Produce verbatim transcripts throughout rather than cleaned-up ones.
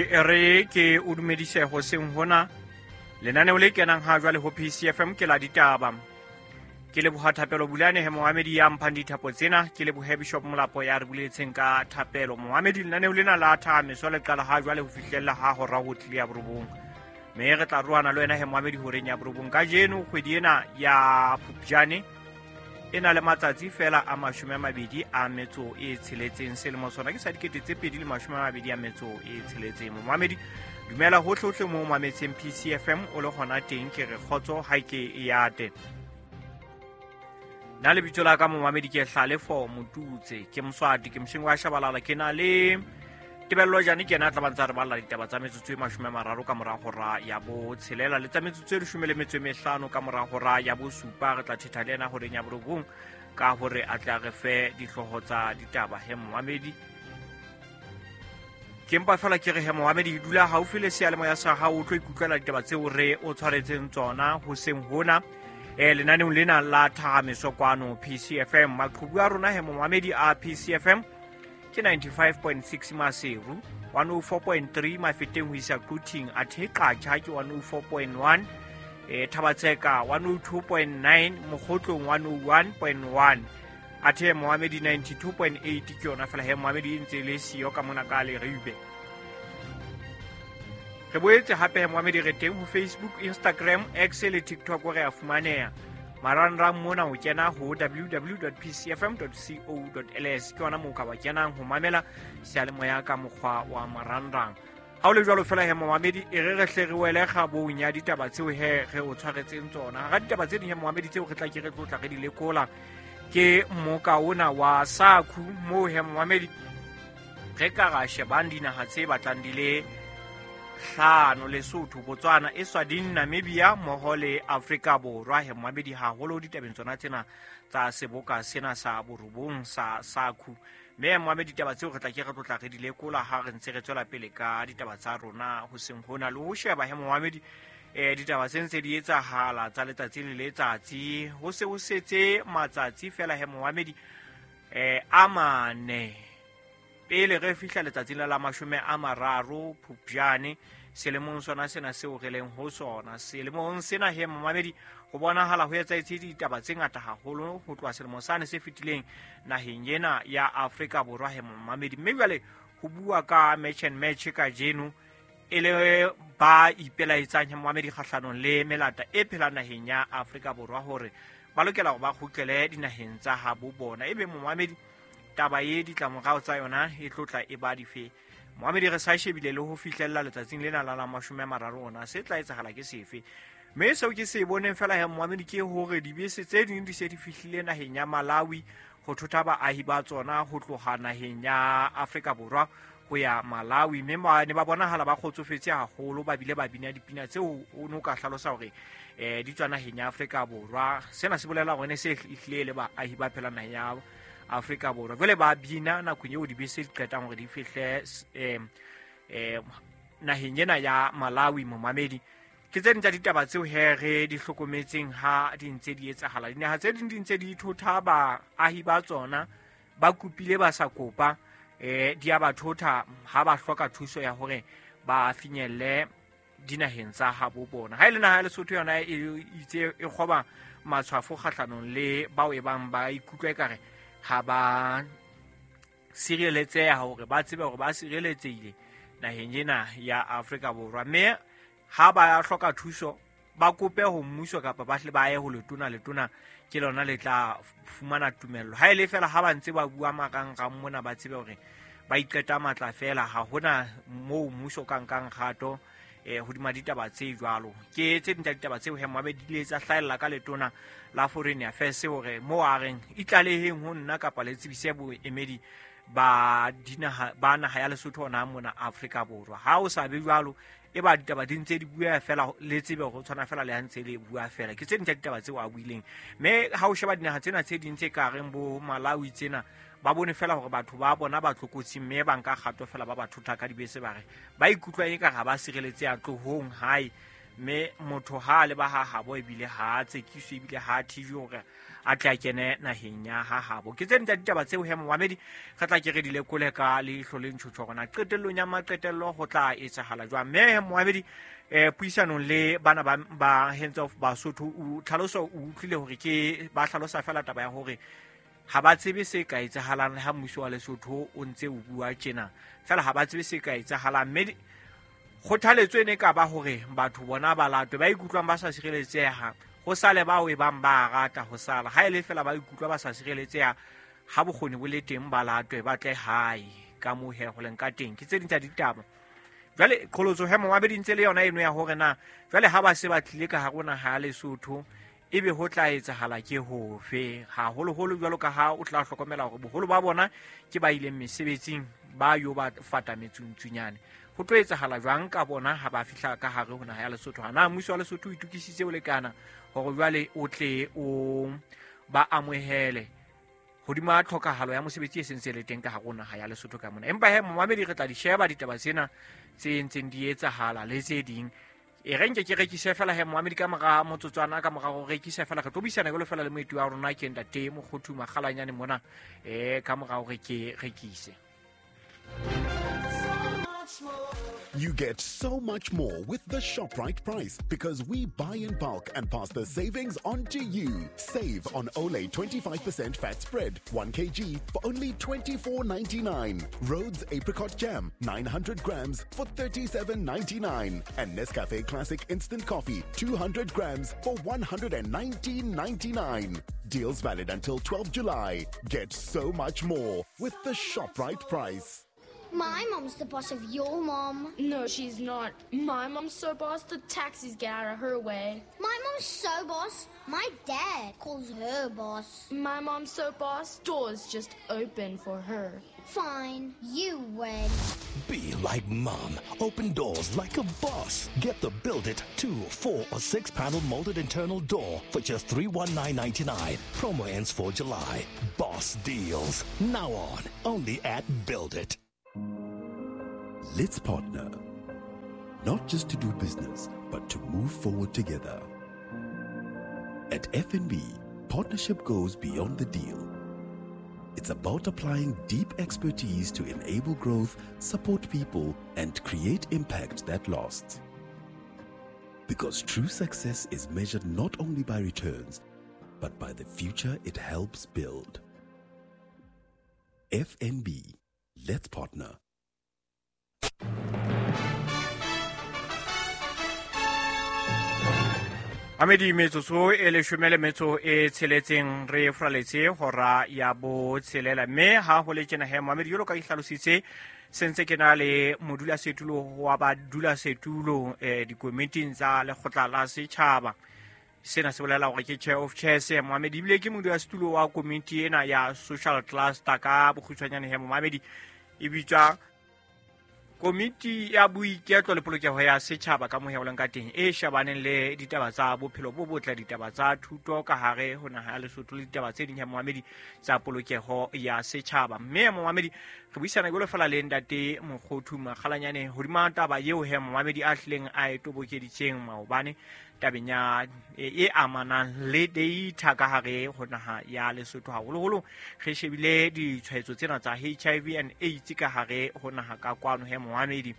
Re ke o dumedise hoseng hona lenaneo le kenang ha jwale ho P C F M ke la ditaba. Ke leboha Thapelo Bulane he Mohamedi ya mphang dithapo tsena, ke lebohe Bishop Molapo ya re buletseng ka thapelo. Mohamedi, lenaneo lena la thahameso le qala ha jwale ho fihlella ha hora ho tlile ya borobong. Mme re tla roana le wena he Mohamedi horeng ya borobong. Kajeno kgwedi ena ya Phupjane e na le matsatsi fela a mashome a mabedi a metso e tsheletseng. Selemo sona ke sa dikete tse pedi le mashome a mabedi a metso e tsheletseng. Mohamedi, dumela hohle hohle moo mametseng P C F M o le hona teng, ke re kgotso ha ke e ate. Nna lebitso la ka Mohamedi ke Hlalefo Motutse, ke Moswati, ke mosheng wa Shabalala, ke na le Tebello Jane, ke yena a tla ba ntse a re balla ditaba tsa metsotso e mashome a mararo ka mora hora ya botshelela le tsa metsotso e leshome le metso e mehlano ka mora hora ya bosupa. Re tla thetha le yena horeng ya borobong ka hore a tla re fe dihlooho tsa ditaba. He Mohamedi, ke mpa fela ke re he Mohamedi, dula haufi le seyalemoya sa hao o tlo ikutlwela ditaba tseo re o tshwaretseng tsona hoseng hona eh lenaneong lena la thahameso kwano P C F M. Maqhubu a rona he Mohamedi a P C F M ke ninety-five point six Maseru, one oh four point three Mafeteng ho isa Quthing, athe Qacha ke one oh four point one, eh Thabatseka one oh two point nine, Mokgotlong one oh one point one, athe Mohamedi ninety-two point eight ke yona fela he Mohamedi e ntse le siyo ka mona ka Leribe. Re boetse hape he Mohamedi re teng ho Facebook, Instagram, X le TikTok re a fumaneha. Marangrang mona o kena ho w w w dot p c f m dot co dot l s, ke yona moo ka ba kenang ho mamela seyalemoya ka mokgwa wa marangrang. Ha o le jwalo fela he Mohamedi, e re re hle re wele kgabong ya ditaba tseo he re o tshwaretseng tsona. Hara ditaba tse ding he Mohamedi tseo re tla ke re tlotla re di lekola ke mmoka ona wa SACU, moo he Mohamedi re ka ra shebang dinaha tse batlang di le hlano: Lesotho, Botswana, Eswatini, Namibia mmoho le Afrika Borwa. He Mohamedi, haholo ditabeng tsona tsena tsa seboka sena sa borobong sa SACU. Mme Mohamedi, ditaba tseo re tla ke re tlotla re di lekola ha re ntse re tswela pele ka ditaba tsa rona hoseng hona, le ho sheba he Mohamedi eh ditaba tse ntse di etsahala tsa letsatsi le letsatsi. Ho se ho setse matsatsi fela he Mohamedi eh a mane pele re fihla letsatsing la mashome a mararo Phupjane selemong sona sena seo re leng ho sona. Selemong sena he Mohamedi ho bonahala ho etsahetse ditaba tse ngata haholo ho tloha selemong sane se fetileng naheng ena ya Afrika Borwa he Mohamedi. Mme jwale ho bua ka match and match kajeno e le ba ipelaetsang he Mohamedi kgahlanong le melata e phelang naheng ya Afrika Borwa hore ba lokela hore ba kgutlele dinaheng tsa habo bona. Ebe Mohamedi taba e ditlamorao tsa yona e tlotla e ba dife? Mohamedi, re sa shebile le ho fihlella letsatsing lena la la mashome a mararo ona se tla etsahala ke sefe? Mme seo ke se boneng fela he Mohamedi ke hore dibese tse ding di se di fihlile naheng ya Malawi ho thotha baahi ba tsona ho tloha naheng ya Afrika Borwa ho ya Malawi. Mme ba ne ba bonahala ba kgotsofetse haholo, ba bile ba bina dipina tseo o no ka hlalosa hore eh di tswa naheng ya Afrika Borwa. Sena se bolela hore ne se ehlile le baahi ba phelang naheng ya Afrika Borwa. Jwale ba bina nakong eo dibese di qetang hore di fihle eh eh naheng ena ya Malawi. Momamedi, ke tse ding tsa ditaba tseo he re di hlokometseng ha di ntse di etsahala. Dinaha tse ding di ntse di thotha baahi ba tsona, ba kopile ba sa kopa, eh di a ba thotha ha ba hloka thuso ya hore ba finyelle dinaheng tsa habo bona. Ha e le naha ya Lesotho yona e itse e kgoba matshwafo kgahlanong le bao e bang ba ikutlwa ekare ha ba sireletseha, hore ba tsebe hore ba sireletsehile naheng ena ya Afrika Borwa. Mme ha ba hloka thuso ba kope ho mmuso kapa ba hle ba ye ho letona, letona ke lona le tla fumana tumello. Ha e le fela ha ba ntse ba bua marangrang mona, ba tsebe hore ba iqeta matla fela, ha hona moo mmuso ka nkang kgato eh hodima ditaba tse jwalo. Ke tse ding tsa ditaba tseo he Mohamedi di ile tsa hlahella ka letona la Foreign Affairs hore moo a reng itlaleheng ho nna kapa le tsebise boemedi ba dinaha ba naha ya Lesotho hona mona Afrika Borwa. Ha o sa be jwalo, e ba ditaba di ntse di bua fela, le tsebe hore o tshwana fela le ha ntse le bua fela. Ke tse ding tsa ditaba tseo a buileng. Mme ha o sheba dinaha tsena tse ding tse ka reng bo Malawi tsena, ba bone fela hore batho ba bona ba tlokotsing, mme ba nka kgato fela ba ba thotha ka dibese, ba re ba ikutlwa eka ha ba sireletseha tlohong hae. Mme motho ha le ba ha habo ebile ha tsekiswe ebile ha thijwe hore a tla kene naheng ya ha habo. Ke tse ding tsa ditaba tseo he momamedi re tla ke re di lekole ka leihlo le ntjhotjho hore na qetellong ya maqetello ho tla etsahala jwang. Mme he momamedi eh puisanong le bana ba ba Hands Off Basotho o tlhaloso o utlwile hore ke ba hlalosa fela taba ya hore ha ba tsebe se ka etsahalang le ha mmuso wa Lesotho o ntse o bua tjena, fela ha ba tsebe se ka etsahalang. Mme kgothaletso ene ka ba hore batho bona ba latwe ba ikutlwang ba sa sireletseha ho sale bao e bang ba rata ho sala, ha ele fela ba ikutlwa ba sa sireletseha ha bokgoni bo le teng ba latwe ba tle hae ka moo he ho leng ka teng. Ke tse ding tsa ditaba. Jwale qholotso he momamedi ntse le yona eno ya hore na jwale ha ba se ba tlile ka hare ho naha ya Lesotho ebe ho tla etsahala ke hofe, haholoholo jwalo ka ha o tla hlokomela hore boholo ba bona ke ba ileng mesebetsing ba yo ba fata metsuntsunyane. Ho tlo etsahala jwang ka bona ha ba fihla ka hare ho naha ya Lesotho? Na mmuso wa Lesotho o itokisitse o lekana hore jwale o tle o ba amohele hodima tlhokahalo ya mosebetsi e sentse le teng ka hare ho naha ya Lesotho ka mona? Empa he momamedi re tla di sheba ditaba tsena tse ntseng di etsahala le tse ding. E re nke ke rekise fela he momamedi ka mora motsotswana ka mora ho rekisa fela re tlo buisana jwalo fela le moeti wa rona ke ntate Mokgothu Makgalanyane mona eh ka mora hore ke rekise. You get so much more with the ShopRite price because we buy in bulk and pass the savings on to you. Save on Olay twenty-five percent fat spread, one kilogram for only twenty-four ninety-nine. Rhodes Apricot Jam, nine hundred grams for thirty-seven ninety-nine. And Nescafe Classic Instant Coffee, two hundred grams for one hundred nineteen ninety-nine. Deals valid until twelfth July. Get so much more with the ShopRite price. My mom's the boss of your mom. No, she's not. My mom's so boss, the taxis get out of her way. My mom's so boss, my dad calls her boss. My mom's so boss, doors just open for her. Fine, you win. Be like mom. Open doors like a boss. Get the Build It two, four, or six panel molded internal door for just three one nine ninety-nine. Promo ends for July. Boss deals. Now on. Only at Build It. Let's partner, not just to do business, but to move forward together. At F N B, partnership goes beyond the deal. It's about applying deep expertise to enable growth, support people, and create impact that lasts. Because true success is measured not only by returns, but by the future it helps build. F N B, let's partner. Amedi metsotso e leshome le metso e tsheletseng re fraletse hora ya bo tshelela, mme ha ho le tjena he momamedi jwalo ka ke hlalositse sentse ke na le modulasetulo wa badulasetulo eh dikomiting tsa lekgotla la setjhaba. Sena se bolela hore ke chair of chairs momamedi, ebile ke modulasetulo wa komiti ena ya social cluster ka bokgutshwanyane he momamedi e bitswa Komiti ya boiketlo le polokeho ya setjhaba ka moya o leng ka teng e shebaneng le ditaba tsa bophelo bo botle, ditaba tsa thuto ka hare ho naha ya Lesotho le ditaba tse ding ya momamedi tsa polokeho ya setjhaba. Mme momamedi re buisana jwalo fela le ntate Mokgothu Makgalanyane hodima taba eo he momamedi a hlileng a e tobokeditseng maobane tabeng ya e amanang le data ka hare ho naha ya Lesotho, haholoholo re shebile ditshwaetso tsena tsa H I V and AIDS ka hare ho naha ka kwano he momamedi.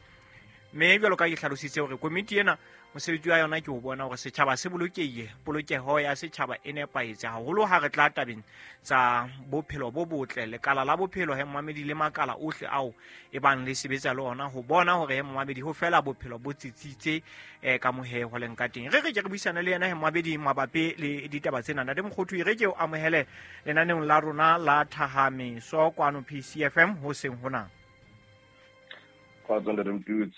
Mme jwalo ka ke hlalositse hore komiti ena mosebetsi wa yona ke ho bona hore setjhaba se bolokehile, polokeho ya setjhaba e nepahetse haholo ha re tla tabeng tsa bophelo bo botle, lekala la bophelo he momamedi le makala ohle ao e bang le sebetsa le ona ho bona hore he momamedi ho fela bophelo bo tsitsitse eh ka mohe ho leng ka teng. Re re ke re buisane le yena he momamedi mabapi le ditaba tsena. Ntate Mokgothu, re ke o amohele lenaneong la rona la Thahameso kwano P C F M ho seng hona. Kgotso ntate Mtuts.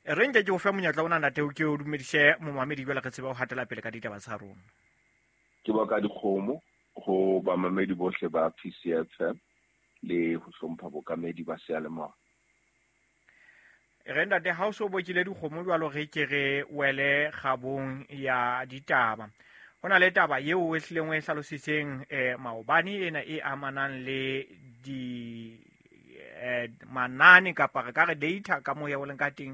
Re nke ke o fe monyetla ona ntate o ke o dumedise momamedi jwale re tsebe ho hatela pele ka ditaba tsa rona. Ke boka dikgomo ho bamamedi bohle ba P C F M le ho hlompha bokamedi ba seyalemoya. Re ntate ha o so bokile dikgomo jwalo re ke re wele kgabong ya ditaba. Ho na le taba eo e hlileng o e hlalositseng eh maobane ena e amanang le di eh, manane kapa re ka re data ka moya o leng ka teng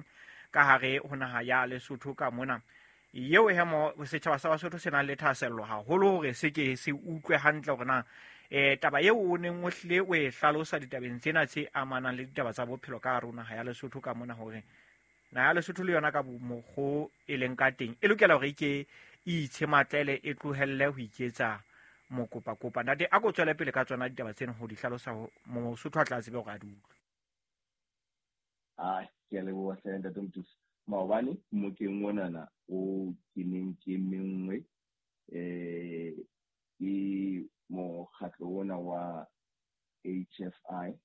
ka hare ho naha ya Lesotho ka mona. Eo he mo setjhaba sa Basotho se nang le thahasello haholo hore se ke se utlwe hantle hore na eh taba eo o neng o hlile o e hlalosa ditabeng tsena tse amanang le ditaba tsa bophelo ka hare ho naha ya Lesotho ka mona, hore naha ya Lesotho le yona ka mokgo e leng ka teng e lokela hore e ke e itshematlele, e tlohelle ho iketsa mokopakopa. Ntate, a ko tswele pele ka tsona ditaba tsena ho di hlalosa Mosotho a tla tsebe hore a di utlwe. Ah, ke a leboha hle ntate Mothusi. Maobane mokeng onana o ke neng ke menngwe eh ke mokgatlo ona wa H F I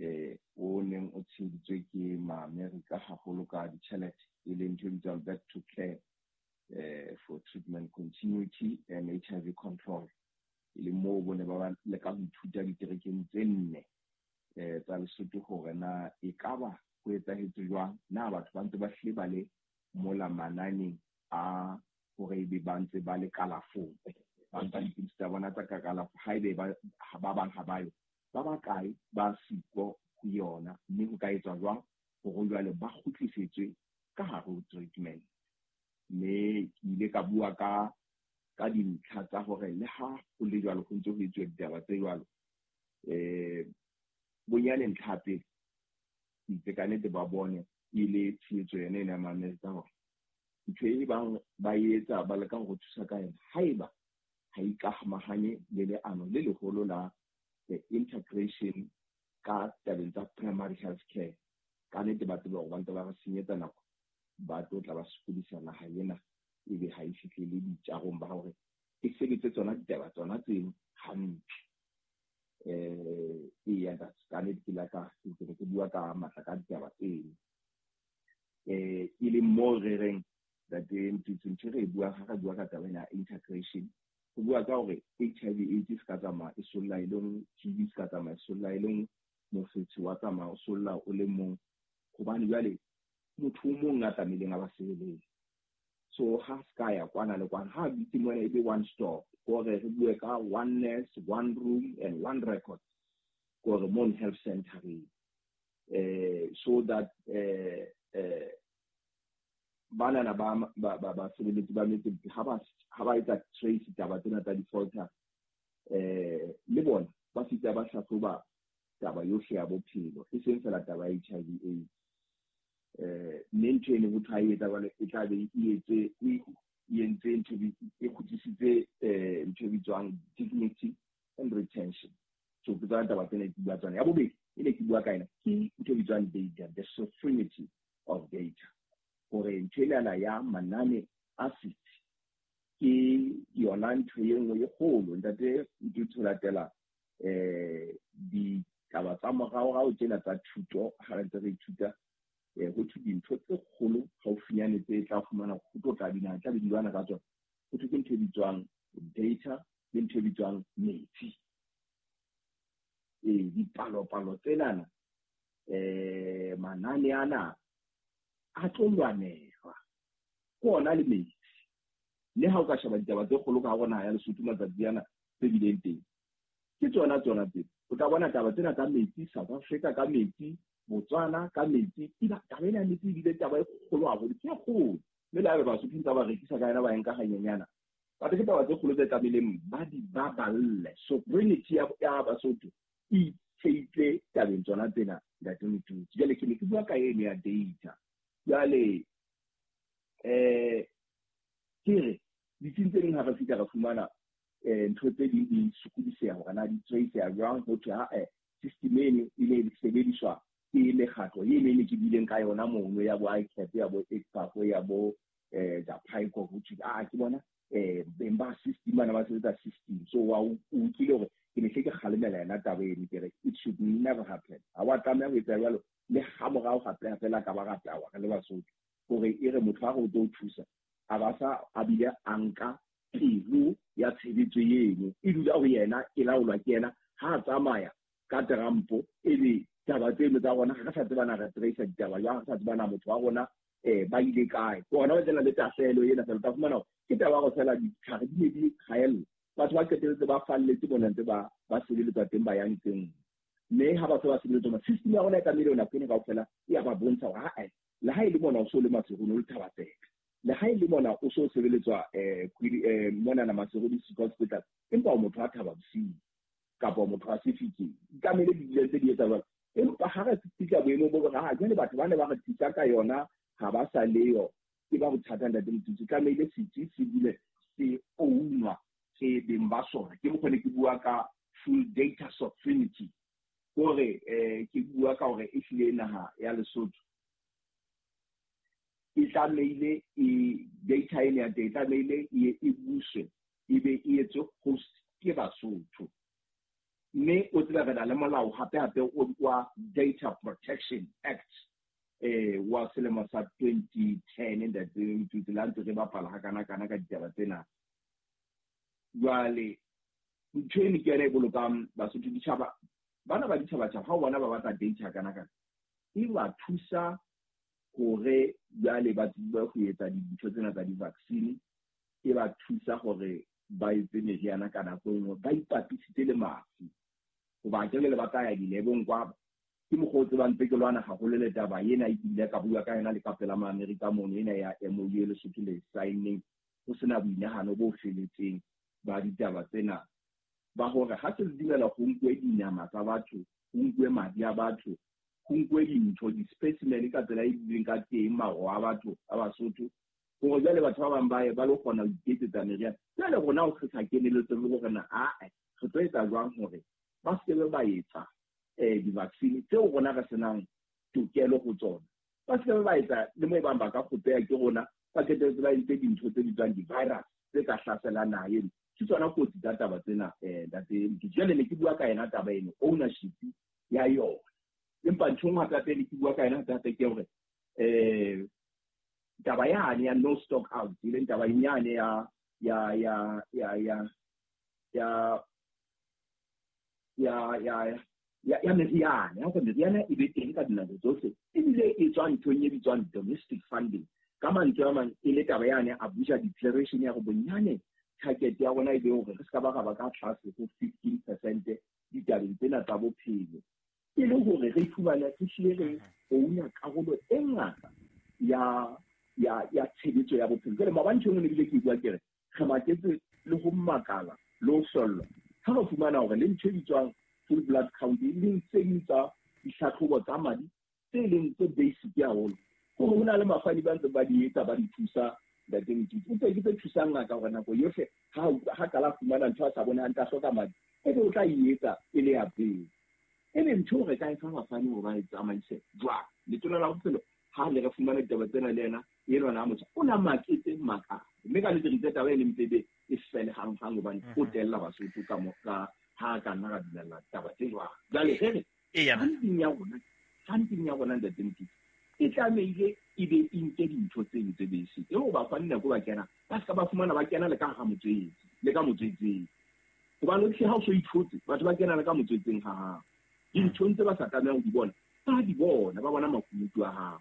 eh o neng o tsheheditswe ke ma-Amerika haholo ka ditjhelete, e leng ntho e bitswang Back to Care eh for Treatment Continuity and H I V Control, e leng moo bone ba leka ho ithuta diterekeng tse nne eh tsa Lesotho hore na ekaba ho etsahetse jwang, na batho ba ntse ba hlile ba le mola mananeng a hore ebe ba ntse ba le kalafong, ba nka dipidisi tsa bona tsa ka kalafo, haebe ba ba bang ha ba yo, ba bakae ba siko ho yona, mme ho ka etswa jwang hore jwale ba kgutlisetswe ka hare ho treatment. Mme ke ile ka bua ka ka dintlha tsa hore le ha ho le jwalo ho ntse ho etsuwa ditaba tse jwalo, eh bonyane ntlha ya pele itse ka nnete ba bone e le tshehetso yona ena ya Maamerika hore ntho e bang ba etsa ba leka ho thusa ka yona haeba ha ikamahanye le leano le leholo la the integration ka tabeng tsa primary health care, ka nnete ba tsebe hore ba ntse ba re senyetsa nako, ba tlo tla ba sokodisa naha ena ebe ha e fihlele ditjarong ba hore e sebetse tsona ditaba tsona tseno hantle. Eh eya ka nnete ke la ka ke ke bua ka matla ka ditaba tseno, eh e leng moo re reng ntate Mothusi, ntho e re e buang ha re bua ka taba ena ya integration, ho bua ka hore H I V AIDS se ka tsamaya e solla e le nngwe, T B se ka tsamaya e solla e le nngwe, mofetshe wa tsamaya o solla o le mong, hobane jwale motho o mong a tlamehileng a ba sebeletse. So ha se ka ya kwana le kwana, ha bitse mona e be one stop, hore re bue ka one nurse, one room and one record, hore mo health center eh so that eh eh banana ba ba ba sebeletsi ba metse ha ba ha ba etsa trace taba tsena tsa defaulter, eh le bona ba fitla ba hlahloba taba yohle ya bophelo, e seng fela taba ya H I V AIDS. Eh mme ntho eno ho thwe e etsa jwale e tla be e etse e entse ntho e kgutlisitse eh ntho e bitswang dignity and retention. So ke tsona taba tsena ke bua tsona. Ya bobedi e ne ke bua ka yona ke ntho e bitswang data, the sovereignty of data, hore ntho enana ya manane a setsi ke yona ntho e nngwe e kgolo. Ntate Mothusi, ho latela eh ditaba tsa moraorao tsena tsa thuto, ha re ntse re ithuta eh ho thwe dintho tse kgolo haufinyane tse tla fumana ho tlo tla dinaha tla be di lwana ka tsona, ho thwe ke ntho e bitswang data le ntho e bitswang metsi. Eh dipalopalo tsenana eh manane ana a tlo lwanelwa ke ona le metsi. Le ha o ka sheba ditaba tse kgolo ka hare ho naha ya Lesotho matsatsi ana tse bileng teng, ke tsona tsona tse o tla bona taba tsena tsa metsi South Africa ka metsi, Botswana ka metsi, taba ena ya metsi ebile taba e kgolo haholo, ke e kgolo, mme le ha Basotho ntse ba rekisa ka yona ba e nka hanyenyana, but ke taba tse kgolo tse tlamehileng ba di baballe. Sovereignty ya Basotho e itsheitse tabeng tsona tsena ntate Mothusi. Jwale ke ne ke bua ka eno ya data. Jwale eh ke re ditsing tse ding ha re fihla re fumana eh ntho tse ding di sokodiseha hore na di trace-a jwang, ho thwe ha eh system eno e ne e sebediswa ke mekgatlo e ne ke bileng ka yona mono ya bo I C A P, ya bo I C A P, ya bo eh Japaiko, ho thwe ah ke bona eh beng ba system bana ba sebetsa system. So wa o utlwile hore ke ne hle ke kgalemela yona taba eno, ke re it should never happen. Ha wa tlameha ho etsa jwalo le ha morao gape fela ka ba ratawa re le Basotho, hore e re motho ha re o tlo thusa a ba sa a bile a nka pelo ya tshebetso eno e dula ho yena, e laolwa ke yena, ha a tsamaya ka terampo ebe taba tseno tsa rona ha re sa tseba na re trace ditaba jwang, ha re sa tseba na motho wa rona eh ba ile kae. Ke hona ho tsena le tahlehelo ena fela, o tla fumana hore ke taba ya hore fela ditlhare di ne di kgaella, batho ba qetelletse ba falletse mona ntse ba ba sebeletswa teng ba yang teng, mme ha ba se ba sebeletswa, system ya rona e tlamehile nako ena kaofela e ya ba bontsha hore ha Le ha e le mona o so le Maseru le Thabatseka, le ha e le mona o so sebeletswa eh eh mona na Maseru District Hospital, empa o motho a Thaba Bosiu kapa o motho a Sefikeng, tlamehile di dile tse di etsa jwalo. Empa ha re fihla boemong bo re ha jwale batho ba ne ba re thusa ka yona ha ba sa leyo, ke ba bothata ntate Motutsi. Tlamehile setsi se dule se ownwa ke beng ba sona. Ke mokgwa ne ke bua ka full data sovereignty, hore eh ke bua ka hore ehlile naha ya Lesotho e tlamehile e data ena ya teng e tlamehile e e buswe, e be e etswe host ke Basotho. Mme o tseba re na le molao hape hape o wa Data Protection Act eh wa selemo sa twenty ten ntate Motutsi, la ntse re bapala ha kana kana ka ditaba tsena. Jwale ntho eno ke yona e bolokang Basotho. Ditjhaba bana ba ditjhabatjhaba ha o bona ba batla data kana kana, e ba thusa hore jwale ba tsebe ho etsa dintho tsena tsa di-vaccine, e ba thusa hore ba etse meriana ka nako e nngwe, ba ipapisitse le mafu. Hoba ke le ba tla ya dilebong kwa, ke mokgwa o tsebang ntse ke lwana haholo le taba ena, e kile ka bua ka yona le ka pela ma-Amerika mono, ena ya M O U e Lesotho le sign-neng ho sena boinahano bo feletseng ba ditaba tsena, ba hore ha se le dumela ho nkuwe dinama tsa batho, ho nkuwe madi a batho, ho nkuwe dintho, di-specimen ka tsela e bileng ka teng, maro a batho a Basotho, hore jwale batho ba bang ba ye ba lo kgona ho iketsetsa meriana. Jwale rona ho re sa keneletse le hore na ae re tlo etsa jwang hore ba se ke ba etsa eh di-vaccine tseo rona re senang tokelo ho tsona, ba se ke ba etsa le mo e bang ba ka kgopeha ke rona, ba qetelletse ba entse dintho tse bitswang di-virus tse ka hlaselang naha eno. Ke tsona kotsi tsa taba tsena eh ntate Motutsi. Jwale ne ke bua ka yona taba eno, ownership ya yona. Empa ntho e nngwe hape hape ne ke bua ka yona hape hape ke hore eh taba yane ya no stock out, e leng taba yane ya ya ya ya ya ya ya ya ya ya meriana, ya hore meriana e be teng ka dinako tsohle, ebile e tswa nthong e bitswang domestic funding. Ka mantswe a mang, e le taba yane Abuja Declaration ya hore bonyane target ya rona e be hore re se ka ba ra ba ka tlase ho fifteen percent ditabeng tsena tsa bophelo, e le hore re iphumane re hlile re ouna karolo e ngata ya ya ya tshebetso ya bophelo. Jwale maobane ntho e nngwe ne bile ke bua ke re re maketse le ho makala le ho hlollwa ha re fumana hore le ntho e bitswang full blood count, e leng tse ding tsa ditlhatlhobo tsa madi tse leng tse basic haholo, hore ho na le mafani ba ntse ba di etsa ba di thusa ntate Motutsi. O tse ke tse thusang ngaka hore nako yohle ha ha qala fumana ntho a sa bone hantle a hloka madi, ebe o tla e etsa e le ya pele. Ebe ntho re ka e fa bafani hore ba e tsamaise jwang? Letona la bophelo ha le re fumana ditaba tsena le yena enwa na motjha o na maketse maka, mme ka nnete re itse taba e leng pebe e fele hanghang, hobane o tella Basotho ka mo ka ha ka nna ra dumella taba tse jwang. Jwale re re funding ya rona, funding ya rona ntate Motutsi, e tlamehile e be e nke dintho tse tse basic, e ho bafani nako ba kena ba se ka ba fumana ba kena le ka hara motswetse, le ka motswetseng, hobane o hle ha o so ithotse batho ba kena le ka motswetseng ha hao, dinthong tse ba sa tlamehang ho di bona ba di bona, ba bona makunutu a hao,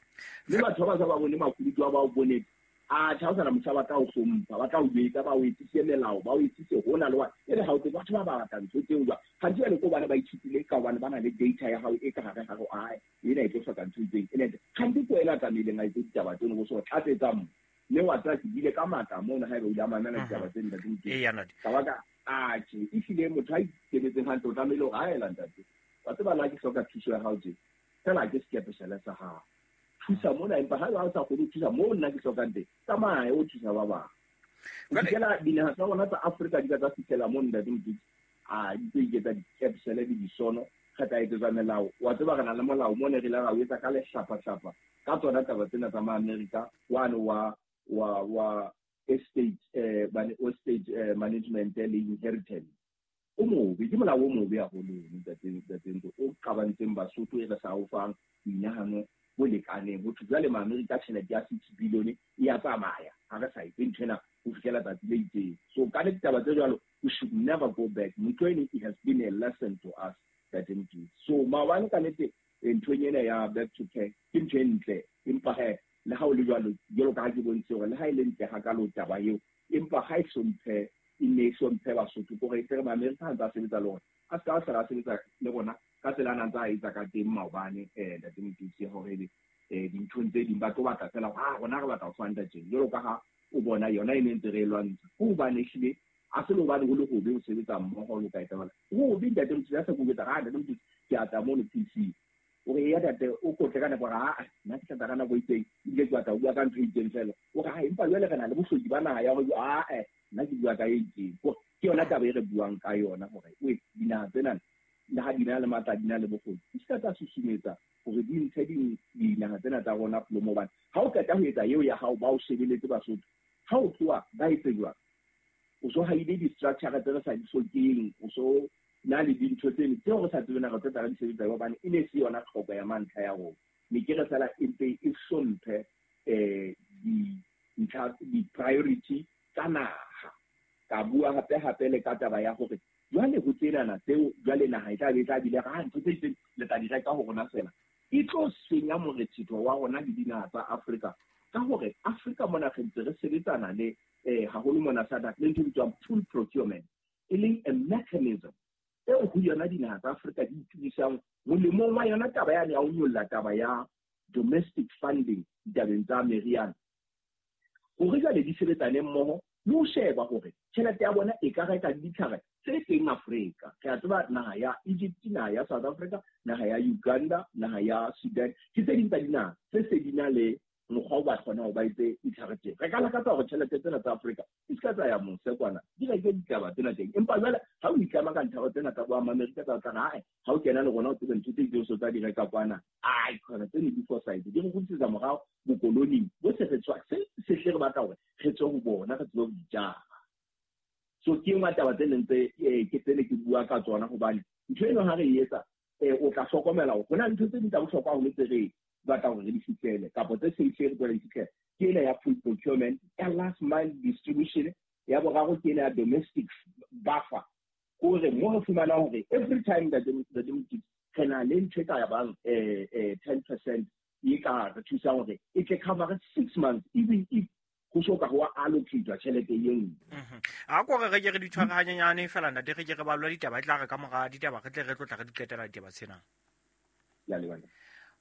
mme batho ba ba sa ba bone makunutu a ba o bone, a tjha o sana motjha ba tla o hlompha, ba tla o jwetsa, ba o etsise melao, ba o etsise hona le wa e le ha o tsebe batho ba ba batla ntho tseo jwang. Hantsi jwale ko bana ba ithutile ka hobane ba na le data ya hao e ka hare hare ae ena e tlo hloka ntho e itseng, ena hantsi ko ena tlamehileng a etse ditaba tseno bo so tlatsetsa mo, mme wa tseba ke bile ka matla mona haeba o ile a mamela ditaba tse ntate Motutsi. Ka baka atjhe ehlile motho a ikemetseng hantle o tlamehile hore a ela ntate, wa tseba nna ke hloka thuso ya hao tje, fela ke sekepeshele sa hao, thusa mona, empa ha o sa kgone ho thusa moo nna ke hlokang teng, tsamaya o thusa ba bang. Ho fihlela dinaha tsa rona tsa Afrika di ka tsa fihlela moo ntate Motutsi, a di tlo iketsa dikepsele le disono, re tla etsetsa melao. Wa tseba re na le molao mo ne re ile ra o etsa ka lehlapahlapa ka tsona taba tsena tsa ma-Amerika wane wa wa wa estate eh estate management le inheritance. O mobe, ke molao o mobe haholo ntate ntate Ntlo, o qabantseng Basotho e re sa o fang boinahano bo lekaneng. Ho thwe jwale ma-Amerika tjhelete ya six billion e ya tsamaya ha re sa etse ntho ena ho fihlela tsatsi le itseng. So ka ditaba tse jwalo we should never go back. Ntho eno it has been a lesson to us ntate Motutsi. So maobane ka nnete nthong ena ya back to care ke ntho e ntle, empa he le ha o le jwalo jwalo ka ha ke bontshitse hore le ha e le ntle hakalo taba eo, empa ha e hlomphe e ne e hlomphe Basotho, kore e tle re ma-Amerika ha ntse a sebetsa le rona, a se ka a hlola a sebetsa le rona ka tsela a nang tsa etsa ka teng maobane eh ntate Motutsi, hore ebe eh dinthong tse ding ba tlo batla fela ha rona re batla ho fanda tjena jwalo ka ha o bona yona e ne ntse re e lwantsha ho hobane ehlile a se le hobane ho le hobe ho sebetsa mmoho le ka etsahala ho hobe ntate Mothusi a sa kubetsa ha ntate Mothusi ke a tla mono P C o re ya ntate o kotle ka nako ha nna ke tla ka nako e itseng ebile ke batla ho bua ka ntho e itseng fela o re ha empa jwale re na le bohloki ba naha ya hore a eh nna ke bua ka e itseng ke yona taba e re buang ka yona hore we dinaha tsena le ha di na le matla di na le bokgoni di se ka tsa susumetsa hore di ntshe dinaha tsena tsa rona polomo hobane ha o qeta ho etsa eo ya hao ba o shebeletse Basotho ha o tloha ba etse jwang o so haile di-structure tse re sa di hlokeng o so na le dintho tseno tseo re sa tsebeng re tlo tla di sebetsa hobane e ne se yona tlhoko ya mantlha ya rona ne ke re fela e mpe e hlomphe um dintlha di-priority tsa naha ka bua hape hape le ka taba ya hore jwale ho tsenana tseo jwale naha e tla be e tla bile ha ntho tse itseng le tla di reka ho rona fela e tlo senya morethetho wa rona le dinaha tsa Afrika ka hore Afrika mona re ntse re sebetsana le eh haholo mona SADC le ntho e bitswang pool procurement e leng a mechanism eo ho yona dinaha tsa Afrika di itukisang molemong wa yona taba yane ya ho nyolla taba ya domestic funding ditabeng tsa meriana hore jwale di sebetsane mmoho le ho sheba hore tjhelete ya bona e ka reka ditlhare tse teng Afrika. Re a tseba naha ya Egypt, naha ya South Africa, naha ya Uganda, naha ya Sudan ke tse ding tsa dinaha tse se di na le mokgwa o ba kgona ho ba etse ditlhare teng. Re ka lakatsa hore tjhelete tsena tsa Afrika di se ka tsa ya mose kwana di reke ditaba tsena teng empa jwale ha o itlama ka nthao tsena tsa bo Amerika tsa tla hae ha o kena le rona o tsebe ntho tse itseng so tsa di reka kwana ai khona tsene di foresight di re kgutlisetsa morao bokoloning bo se re tswa se se hle re batla hore re tswe ho bona re tsebe ho dijara. So ke nngwe taba tse leng tse ke tsene ke bua ka tsona hobane ntho eno ha re e etsa o tla hlokomela hore ho na le ntho tse ding tsa bohlokwa haholo tse re batla hore re di fihlele kapa tse se hle re tlo di fihlele ke ena ya food procurement ya last mile distribution ya boraro ke ena ya domestic buffer hore mo re fumanang hore every time that the re na le ntho e ka bang ten percent e ka re thusang hore e tle cover six months even if ho so ka ho allocate tjhelete e nngwe. A ko re re ke re di tshware hanyenyane fela ntate re ke re balwa ditaba e tla re ka mora ditaba re tle re tlo tla re di qetela ditaba tsena. Ya lebana.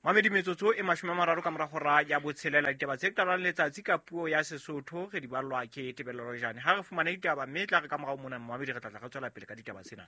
Mamedi metsotso e mashome a mararo ka mora hora ya botshelela ditaba tse qalang letsatsi ka puo ya Sesotho re di ballwa ke Tebello Rojane. Ha re fumane ditaba mme tla re ka morao mona mamedi re tla tla re tswela pele ka ditaba tsena.